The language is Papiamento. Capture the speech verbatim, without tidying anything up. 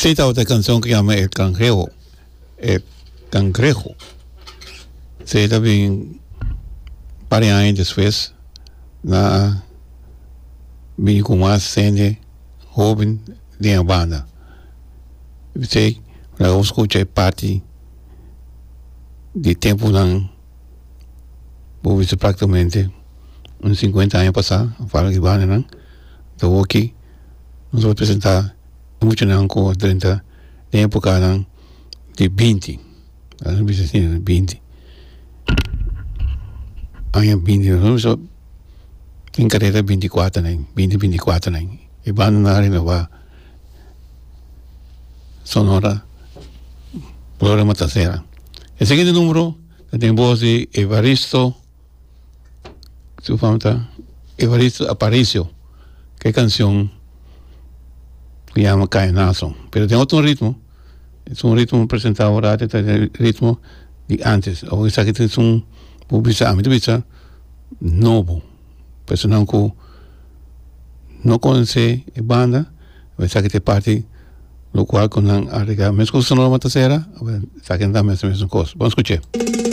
Esei tabata e kanshon ku yama El Cangrejo, El Cangrejo. Esei ta bin par di aña despues na bini ku mas hende hoben den e banda. Esei laga bo skucha e parti di tempunan bo bisa praktikamente un sinkuenta aña pasá fala di bandanan ta awoki nos a presentá e muchanan ku a drenta den epokanan di binti laga nos bisa asina binti aña binti nos a bisa tin karera binti kuater aña binti binti kuater aña e bandanan a renobá Sonora Gloria Matasera. E siguiente numero ta den voz di Evaristo, su fama ta Evaristo Aparicio, ke canción ku yama Caenazo. Pero den otro ritmo, es un ritmo presenta ahora ta e ritmo di antes. Awor esaki ta un bo bisa ami ta bisa nobo. Personanan ku no conoce e banda, esaki ta e parti locual cu nan a rega. Mescos Sonora Matasera, esaki nan ta mes mesun cos. Bon scuche.